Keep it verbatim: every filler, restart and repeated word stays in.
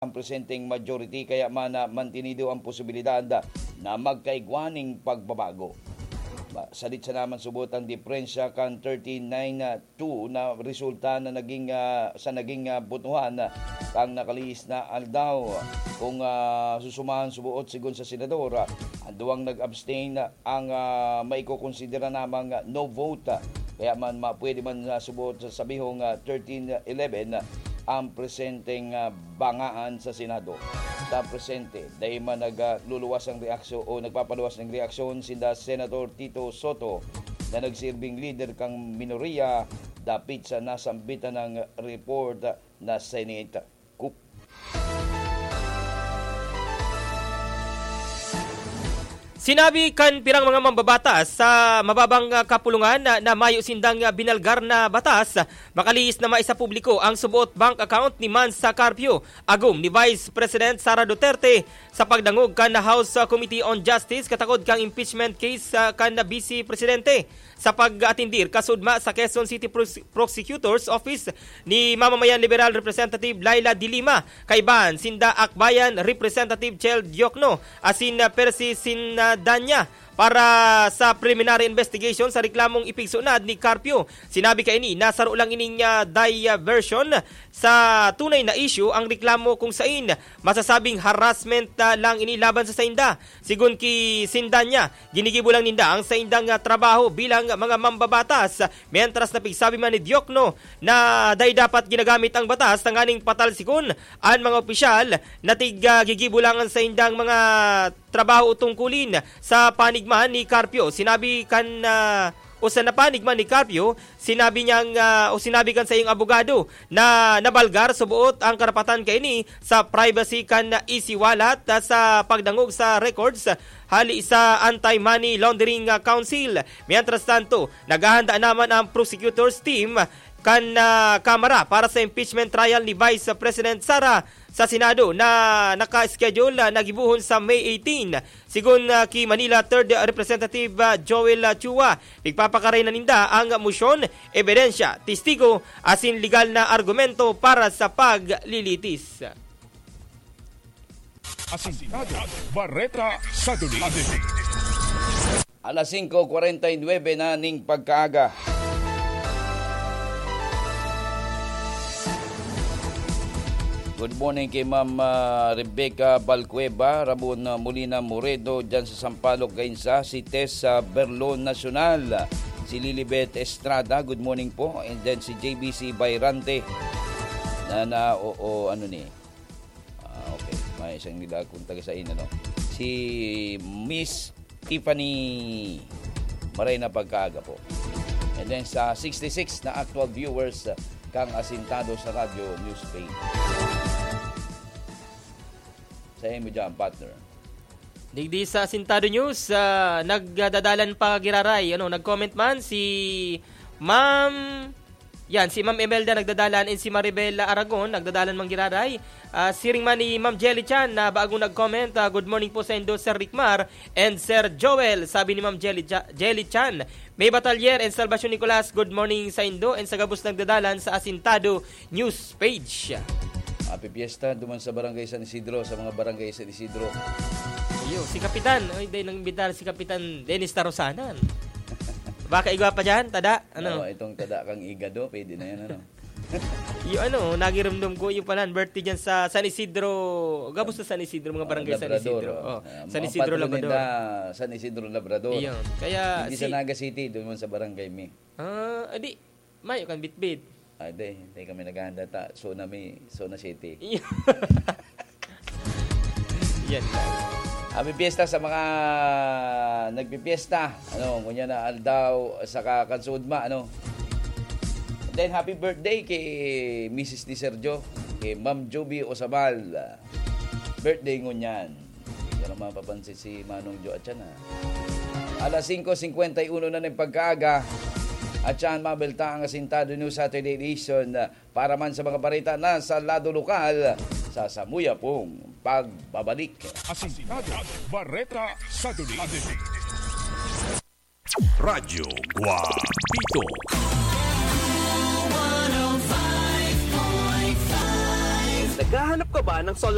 ang presenteng majority, kaya man, ah, mantinido ang posibilidad na magkaigwa ning pagbabago. Ba, sadit sa naman subot ang diperensya kan thirty-nine two na resulta na naging, ah, sa naging, ah, botohan, ah, kang nakalihis na aldaw. Kung, ah, susumahan subuot sigon sa senador, ah, ang duwang nag-abstain, ah, ang, ah, maikokonsidera namang, ah, no vote. Kaya man, ma-, pwede man, ah, subuot sa sabihong, ah, thirteen eleven, ah, ang presenteng, ah, bangaan sa Senado. Sa presente, dai man nag, ah, luluwas ang reaksyon o nagpapaluwas ng reaksyon sinda Senator Tito Soto na nagsirbing lider kang minoriya dapit sa nasambitan ng report na Senate coup. Sinabi kan pirang mga mambabatas sa mababang, ah, kapulungan na, na mayo sindang, ah, binalgar na batas, makalihis na maisapubliko ang suboot bank account ni Mans Carpio, agom ni Vice President Sara Duterte, sa pagdangog kan House, ah, Committee on Justice katakod kan impeachment case, ah, kan Vice Presidente. Sa pag-atindir kasudma sa Quezon City Pros-, Prosecutor's Office ni Mamamayan Liberal Representative Laila de Lima, kaibahan sinda Akbayan Representative Chel Diokno asin, ah, Percy Sindanya para sa preliminary investigation sa reklamong ipigsunad ni Carpio. Sinabi kaini na saro lang ining, ah, diversion sa tunay na issue ang reklamo kung sain masasabing harassment, ah, lang ini laban sa sainda. Sigon ki Sindanya, ginigibo lang ninda ang saindang, ah, trabaho bilang mga mambabatas. Mientras na pigsabi man ni Diokno na dai dapat ginagamit ang batas tanganing patalsikon an mga opisyal na tig, ah, gigibo lang an saindang mga trabaho o tungkulin. Sa panig man ni Carpio, sinabi kan, ah, o sa napanig man ni Carpio, sinabi niyang, ah, o sinabi kan saiyang abogado na nabalgar suboot ang karapatan kaini sa privacy kan isiwalat, ah, sa pagdangog sa records hali sa Anti-Money Laundering, ah, Council. Mientras tanto, naghahanda naman ang prosecutor's team kan, ah, Kamara para sa impeachment trial ni Vice President Sara sa Senado na naka-schedule na gibohon sa May eighteen. Sigon, ah, ki Manila Third Representative, ah, Joel, ah, Chua, pigpapakaray na ninda ang mosyon, ebidensya, testigo, asin legal na argumento para sa paglilitis. Asintado, Bareta sa Duli. Alas singko kwarenta y nuebe na ning pagkaaga. Good morning kay Ma'am, ah, Rebecca Balcueva, Ramon, ah, Molina Moredo, dyan sa Sampaloc, Gainza, si Tess, ah, Berlon Nacional, si Lilibet Estrada, good morning po, and then si J B C Bayrante, na, na, o, o, ano ni, Ah, okay. May isang nila akong taga-sain, ano? Si Miss Tiffany. Maray na pagkaaga po. And then sa sixty-six na actual viewers, ah, kang asintado sa Radyo News Page. Sa imo dyan, partner. Digdi sa Asintado News, ah, nagdadalan pa giraray. Ano, nag-comment man si Ma'am Yan, si Ma'am Imelda nagdadalan and si Maribel Aragon nagdadalan man giraray. Ah, siring man ni Ma'am Jelly Chan na bagong nag-comment, ah, "Good morning po saindo, Sir Rickmar and Sir Joel," sabi ni Ma'am Jelly Cha-, Jelly Chan. May Batalyer and Salvacion Nicolas, "Good morning saindo and sa gabos nagdadalan sa Asintado News Page." Happy Fiesta duman sa Barangay San Isidro, sa mga Barangay San Isidro. Iyo, si Kapitan. Oy, day, nang-imbitar si Kapitan Dennis Tarosanan. Baka igwa pa dyan, tada? Ano? Oo, itong tada kang igado, pwede na yan, ano? Yung ano, nagirumdum ko, yung pala, birthday dyan sa San Isidro. Gabos sa San Isidro, mga Ah, barangay San Labrador, Isidro. Oh. Oh, ah, San mga Isidro, patron Labrador. Ninda, San Isidro, Labrador. Iyon. Kaya Hindi si sa Naga City, doon man sa barangay mi. Ah, adi, mayo kan bitbit. Ah, di, di kami naghahanda ta. Zona mi, Zona City. Iyon. Yan lang. Happy Fiesta sa mga nagpipiesta. Ano, ngunyan na aldaw, saka kan suodma, ano. Then, happy birthday kay Missus Di Sergio, kay Ma'am Joby Osabal. Birthday ngunyan. Hindi ko na mapapansin si Manong Jo at yan, ha. Alas singko singkwenta y uno na ng pagkaaga. At yan, mabelta ang Asintado News Saturday Edition. Para man sa mga bareta na sa lado lokal, sa samuya pong pagbabalik. Asintado, Bareta sa Duli. Radyo Guapito. Naghahanap ka ba ng